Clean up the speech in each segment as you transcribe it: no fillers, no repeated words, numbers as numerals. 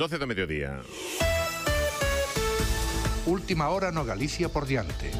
12 do mediodía. Última hora no Galicia por diante.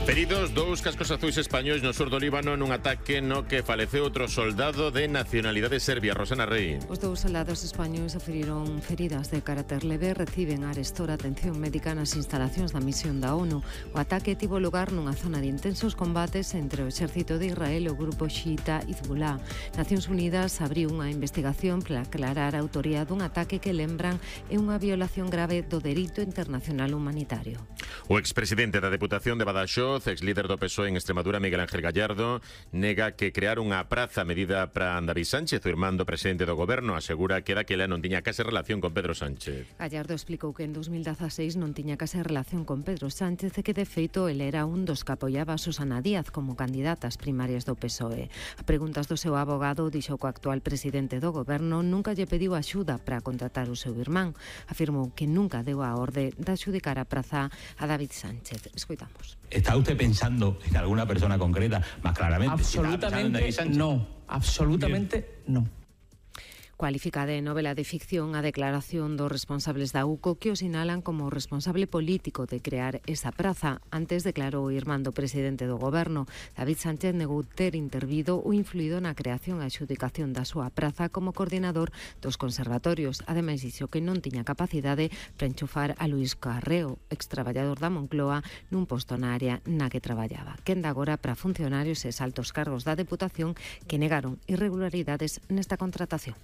Feridos 2 cascos azuis españois no sur do Líbano nun ataque no que faleceu outro soldado de nacionalidade serbia, Rosana Rey. Os 2 soldados españois sufriron feridas de carácter leve, reciben arestora atención médica nas instalacións da misión da ONU. O ataque tivo lugar nunha zona de intensos combates entre o exército de Israel e o grupo xiita Hezbollah. Nacións Unidas abriu unha investigación para aclarar a autoría dun ataque que lembran é unha violación grave do dereito internacional humanitario. O expresidente da Deputación de Badaxoz, ex-líder do PSOE en Extremadura, Miguel Ángel Gallardo, nega que crear unha praza medida para David Sánchez, o irmán do presidente do goberno, asegura que daquela non tiña case relación con Pedro Sánchez. Gallardo explicou que en 2016 non tiña case relación con Pedro Sánchez e que de feito ele era un dos que apoiaba a Susana Díaz como candidata ás primarias do PSOE. A preguntas do seu abogado, dixo que o actual presidente do goberno nunca lle pediu axuda para contratar o seu irmán. Afirmou que nunca deu a orde de adxudicar a praza a David Sánchez. Escoitamos. ¿Está usted pensando en alguna persona concreta? Más claramente. Absolutamente no. Absolutamente no. Cualifica de novela de ficción a declaración dos responsables da UCO que o sinalan como responsable político de crear esa praza. Antes declarou o irmán do presidente do goberno. David Sánchez negou ter intervido ou influído na creación e adxudicación da súa praza como coordinador dos conservatorios. Ademais, dixo que non tiña capacidade para enchufar a Luís Carreo, extraballador da Moncloa, nun posto na área na que traballaba. Quenda agora para funcionarios e altos cargos da Deputación que negaron irregularidades nesta contratación.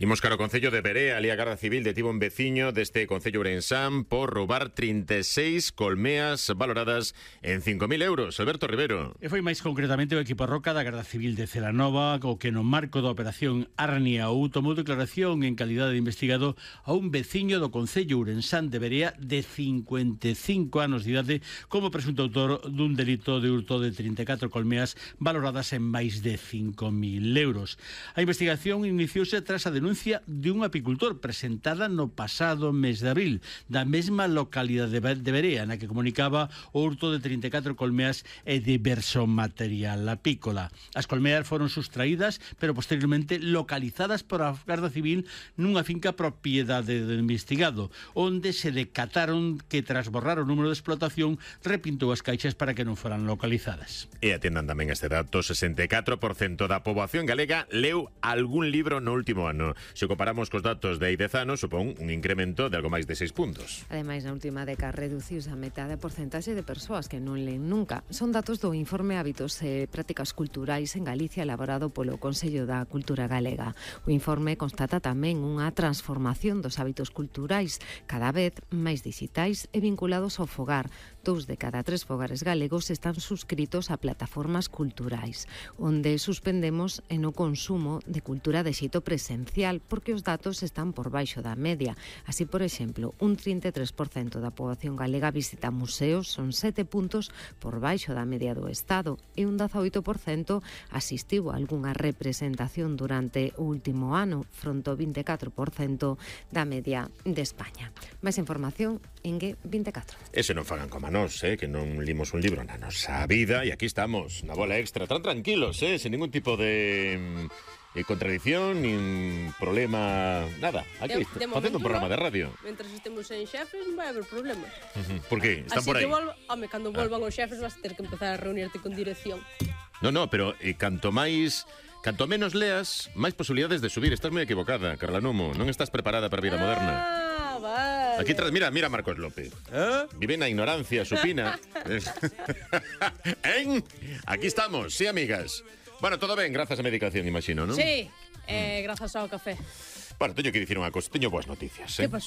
Imos cara ao Concello de Verea. Ali a Garda Civil detivo un veciño deste Concello Ourensán por roubar 36 colmeas valoradas en 5.000 euros. Alberto Rivero. E foi máis concretamente o equipo Roca da Garda Civil de Celanova o que no marco da operación Arnia tomou declaración en calidade de investigado a un veciño do Concello Ourensán de Verea de 55 anos de idade como presunto autor dun delito de hurto de 34 colmeas valoradas en máis de 5.000 euros. A investigación iniciouse tras a denuncia de un apicultor presentada no pasado mes de abril da mesma localidade de Verea, na que comunicaba o hurto de 34 colmeas e diverso material apícola. As colmeas foron sustraídas, pero posteriormente localizadas por a Garda Civil nunha finca propiedade do investigado, onde se decataron que tras borrar o número de explotación repintou as caixas para que non foran localizadas. E atendan tamén este dato, 64% da poboación galega leu algún libro no último ano. Se comparamos cos datos de hai 10 anos, supón un incremento de algo máis de 6 puntos. Ademais, na última década reduciuse a metade a porcentaxe de persoas que non leen nunca. Son datos do informe Hábitos e Prácticas Culturais en Galicia elaborado polo Consello da Cultura Galega. O informe constata tamén unha transformación dos hábitos culturais, cada vez máis digitais e vinculados ao fogar. 2 de cada 3 fogares galegos están suscritos a plataformas culturais, onde suspendemos en o consumo de cultura de xeito presencial porque os datos están por baixo da media. Así, por exemplo, un 33% da poboación galega visita museos, son 7 puntos por baixo da media do Estado, e un 18% asistiu a algunha representación durante o último ano, fronte ao 24% da media de España. Máis información en G24. Ese non fagan como a nós, que non limos un libro na nosa vida, e aquí estamos, na bola extra, tan tranquilos, sen ningún tipo de contradicción, nin problema, nada. Aquí, facendo un programa de radio. Mentras estemos en xefes non vai haber problemas. Por que? Están así por aí. Cando volvan os xefes vas ter que empezar a reunirte con dirección. No, pero canto menos leas, máis posibilidades de subir. Estás moi equivocada, Carla Numo. Non estás preparada para a vida moderna. Vale. Aquí mira Marcos López. Vive na ignorancia supina. Aquí estamos, sí, amigas. Bueno, todo ben, grazas á medicación, imagino, non? Sí, grazas ao café. Bueno, teño que dicir unha cosa, teño boas noticias. Que pasou?